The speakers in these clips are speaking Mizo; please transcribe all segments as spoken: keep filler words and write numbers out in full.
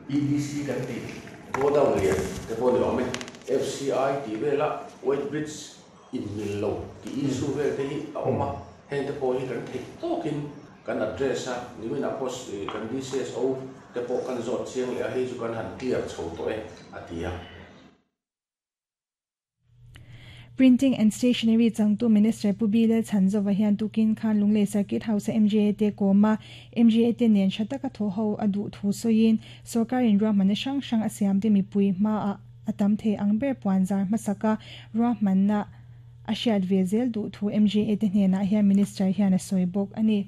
E D C kan tih godown lian te pawh ni awm e, F C I tih vela weight bridge inmil lo tih issue vel te hi a awm a. Heng te pawh hi kan theih tawkin kan address a nimin a post kan D C S O te pawh kan zawt chiang leh a, hei chu kan han clear chho tawh e, a ti a. Printing and Stationery changtu Minister Pu B Lalchhanzova hian tukin khan Lunglei Circuit House M G A te kawma M G A te nen thataka tho ho adu thu soin sarkarin ruahmanna hrang hrang a siam te mipui hma a atam thei ang ber puanzar hmasaka ruahmanna a hriat ve zel duh thu M G A te hnenah hian Minister hian a sawi bawk ani.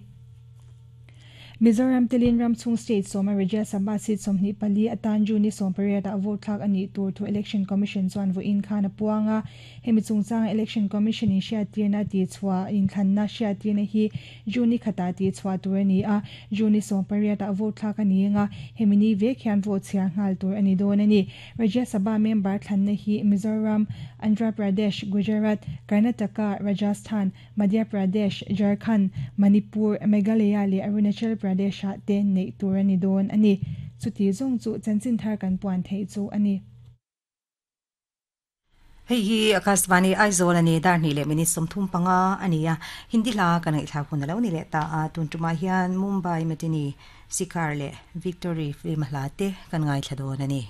Mizoram telin ram chung state sawma Rajya Sabha seat sawmhnih pali atan June ni sawm pariat a vote thlak ani tur thu Election Commission chuan vawiin khan a puanga. Hemi chungchang Election Commission in hriattirna ti chhuah inthlanna hriattirna hi June ni khata ti chhuah tur ani a. June ni sawm pariat a vote thlak ani anga, hemi ni vek hian vote chhiar nghal tur ani dawn ani. Rajya Sabha member thlanna hi Mizoram, Andhra Pradesh, Gujarat, Karnataka, Rajasthan, Madhya Pradesh, Jharkhand, Manipur, Meghalaya le Arunachal Pradesh ah te nei tur ani dawn ani. Chuti zong chu chanchin thar kan puan thei chu ani. Hei hi Akashvani Aizawl ani. Dar hnih leh minute sawmthum panga ania. Hindi hla kan ngaihthla hun alo ni leh ta a. Tun tuma hian Mumbai Matinee, Sikar leh Victory film hla te kan ngaithla dawn ani.